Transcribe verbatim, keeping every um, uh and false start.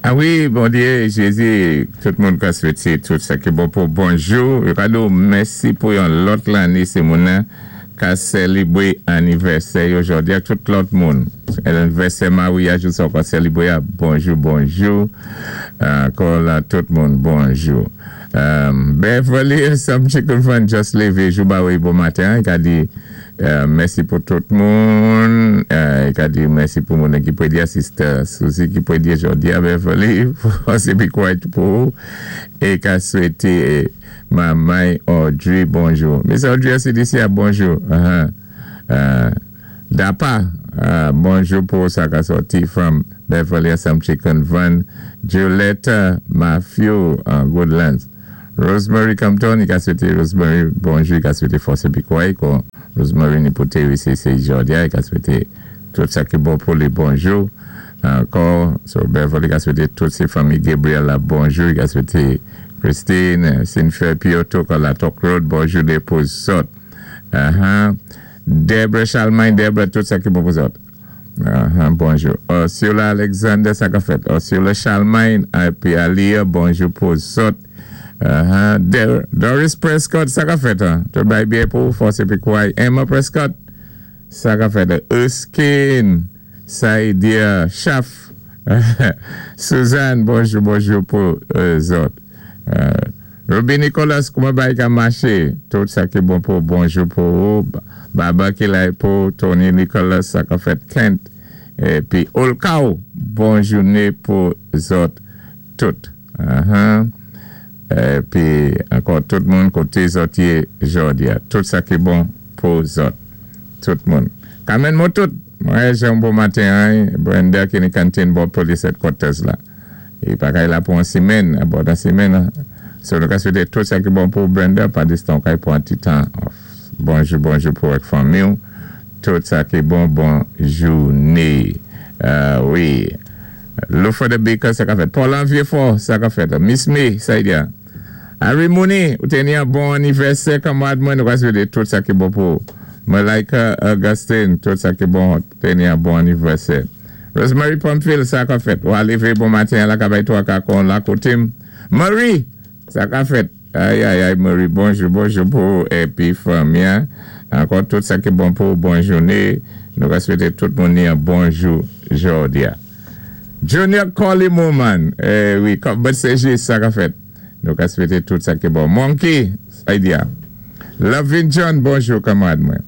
Ah wi, bondyé, Jézi, tout moun ka swété tout sa ki bon pou bonjou. Yo ka di mèsi pou yon lòt lanné, sé moun ka sélébwé anivèsè jòdi a tout lòt moun. Anivèsè maryaj ou sa ka sélébwé bonjou, bonjou. Ankò la tout moun, bonjou. Um, Beverly, some chicken fun just lévé jou ba wi bon maten, i ka di euh, mèsi pou tout moun. Euh, i ka di mèsi pou moun ki pwédyé, sister Suzy ki pwédyé jòdi a Beverly, sé pi quiet pou é ka swété Mamay Audrey bonjou. Miss Audrey C D C bonjou. Uh-huh. Uh, Dapa, uh, bonjou pou sa ka sòti from Beverly some chicken van. Julietta Matthew, uh, Goodlands. Rosemary Compton, i ka swété Rosemary bonjou, i ka swété fòs épi kouway, kon Rosemary ni pou T W C C jòdi a, i ka swété tout sa ki bon pou li bonjou. Ankò, so Beverly ka swété tout sé fanmi Gabriel la bonjou, i ka swété Christine, Sinfer Piotto, kon la Talk Road, bonjou de pou zòt. Uh-huh. Debra Chalmain, Debra, tout sa ki bon pou zòt. Uh-huh, bonjou. Ursula Alexander, sa ka fèt. Ursula Chalmain, épi Alia, bonjou pou zòt. Uh-huh. Doris Prescott, sa ka fèt. Tout bay byen pou fòs épi kouway. Emma Prescott, sa ka fèt. Erskine, Saidia, Chaf. Suzanne, bonjou, bonjou pou zòt. Ruby Nicholas, kouman bay ka maché? Tout sa ki bon pou bonjou pou ou. Baba ki la pou Tony Nicholas, sa ka fèt Kent. Épi Olkao, bonjou pou zòt tout. Uh-huh. Épi ankò tout moun koté zòt yé jòdi a. Tout sa ki bon pou zòt. Tout moun. Kamen mou tout. Mwen jè un bon maten, Brenda ki ni kantin bò police headquarters la. I pa kay la pou an simen, about an simen. So nou ka swété tout sa ki bon pou Brenda, pa distan kay pou an ti tan off. Bonjou, bonjou pou ek fanmi ou. Tout sa ki bon, bon jouné. Wi. Lufa de Baker, sa ka fèt. Paul Vieux-Fort, sa ka fèt. Miss May, sa yi diya. Harry Mooney, ou té ni an bon anivèsè kanmwad mwen, nou ka swété tout sa ki bon pou. Malaika Augustine, tout sa ki bon, té ni an bon anivèsè. Rosemary Pamphile, sa ka fèt. Ou alévé bon maten la kabay to akakon la kotim. Marie, sa ka fèt. Ay, ay, ay, Marie, bonjou, bonjou pou épi fanmi. Ankò tout sa ki bon pou bon jouné. Nou ka swété tout moun ni an bonjou jòdi a. Junior Collie Moman, eh wi, but sé jis sa ka fèt. Nou ka swété tout sa ki bon. Monkey, sa yi diya. Lovin John, bonjou kanmwad mwen.